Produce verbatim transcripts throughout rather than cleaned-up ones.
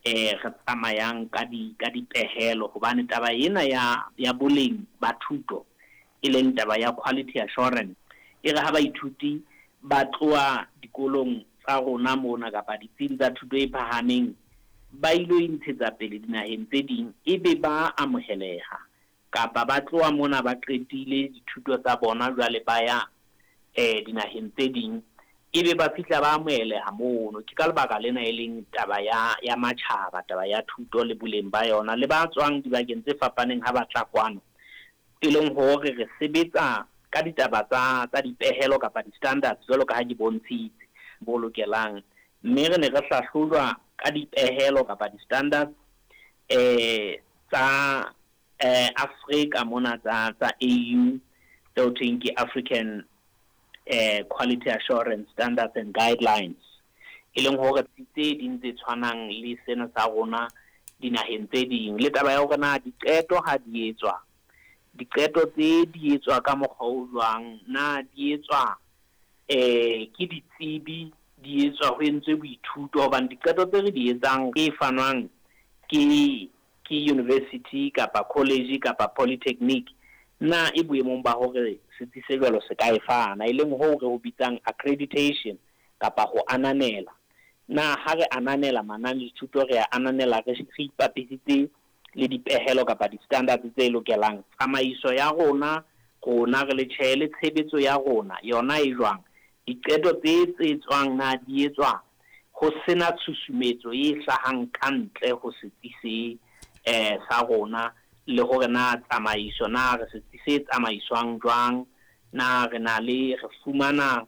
eh re tsamayang ka di ka dipehelo, hobane taba ena ya ya boleng ba thuto, e leng taba ya quality assurance, e re ha baithuti ba tloha dikolong tsa rona mona kapa ditsing tsa thuto e phahameng ba ilo intshetsa pele dinaheng tse ding, ebe ba amoheleha, kapa ba tloha mona ba qetile dithuto tsa bona jwale ba ya eh dinaheng tse ding, ebe ba fihla ba amoheleha mono. Ke ka lebaka lena e leng taba ya ya matjhaba, taba ya thuto le boleng ba yona, le ba tswang dibakeng tse fapaneng ha ba tla kwano, e leng hore re sebetsa ka ditaba tsa tsa dipehelo kapa di-standards jwalo ka ha ke bontshitse bo lokelang. Mme re ne re hlahlojwa ka dipehelo kapa di-standards eh tsa eh Afrika mona tsa tsa A U, tseo thweng ke African eh Quality Assurance Standards and Guidelines, e leng hore tse ding tse tshwanang le sena sa rona dinaheng tse ding. Le taba ya hore na diqeto ha di etswa, diqeto tse di etswa ka mokgwa o jwang, na di etswa eh ke ditsebi, di etswa ho entswe boithuto, hobane diqeto tse re di etsang e fanwang ke ke university kapa college kapa polytechnic, na e boemong ba hore setsi se jwalo se ka e fana, e leng hoo re ho bitsang accreditation kapa ho ananela. Na ha re ananela mananethuto, re a ananela re re ipapisitse le dipehelo kapa di-standards tse lokelang. Tsamaiso ya rona, rona re le tjhe, le tshebetso ya rona yona e jwang, diqeto tse tse tswang na di etswa ho sena tshusumetso e hlahang ka ntle ho setsi se eh sa rona, le hore na tsamaiso, na re setsi se tsamaiswang jwang, na re na le re fumana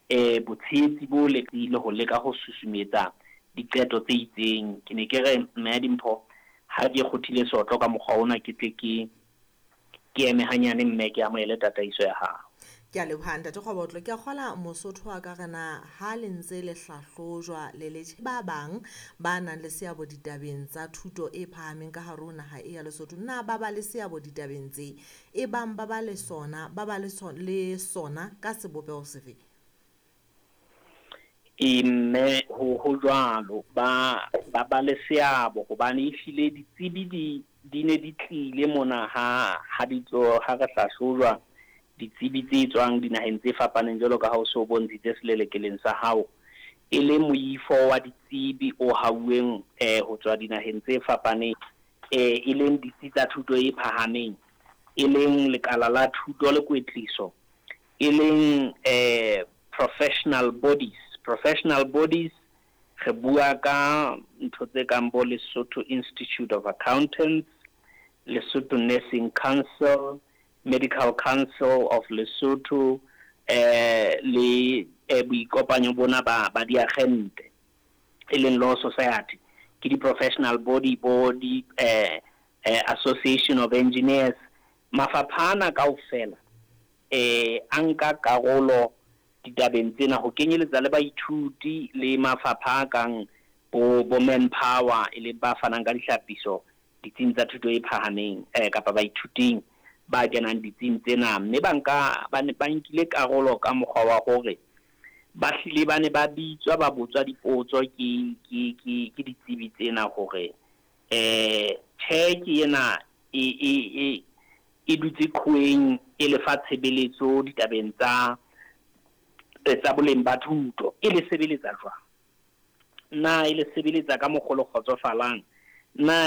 eh botshehetsi bo le le ho leka ho susumetsa diqeto tse itseng. Ke ne ke re mme Dimpho, ha ke kgothile sotlo ka mokgwa ona, ke tle ke ke eme hanyane mme ke amohele tataiso ya hao. Ke a leboha ntate Kgobotlo. Ke a kgola Mosotho wa ka re na ha le ntse le hlahlojwa le le ba bang ba nang le seabo ditabeng tsa thuto e phahameng ka hare ho naha e ya Lesotho, na ba ba le seabo ditabeng tse e bang ba ba le sona, ba ba le so-, le sona ka sebopeho sefe? E mme ho, ho jwalo, ba, ba ba le seabo, hobane ehlile ditsebi di, di ne di tlile mona ha, ha di tlo, ha re hlahlojwa, ditsebi tse tswang dinaheng tse fapaneng jwalo ka ha o so bontshitse selelekeleng sa hao, e le moifo wa ditsebi o hauweng, eh, ho tswa dinaheng tse fapaneng, eh, e leng ditsi tsa thuto e phahameng, e leng lekala la thuto le kwetliso, e leng, eh, professional bodies. Professional bodies re bua ka ntho tse kang bo Lesotho Institute of Accountants, Lesotho Nursing Council, Medical Council of Lesotho, eh, le, eh, boikopanyo bona ba, ba diagente, e leng Law Society, ke di-professional body, bo di, eh, eh, Association of Engineers. Mafapha ana kaofela, eh, a nka karolo ditabeng tsena, ho kenyeletsa le baithuti le mafapha a kang bo, bo manpower, e leng ba fanang ka dihlapiso ditsing tsa thuto e phahameng, eh, kapa baithuting ba kenang ditsing tsena. Mme ba nka, ba ne ba nkile karolo ka mokgwa wa hore ba hlile ba ne ba bitswa, ba botswa dipotso ke, ke, ke, ke ditsebi tsena hore, eh, tjhe ke ena e, e, e, e dutse qhoweng e lefa tshebeletso ditabeng tsa, tsa boleng ba thuto, e le sebeletsa jwang, na e le sebeletsa ka mokgwa o le kgotsofalang, na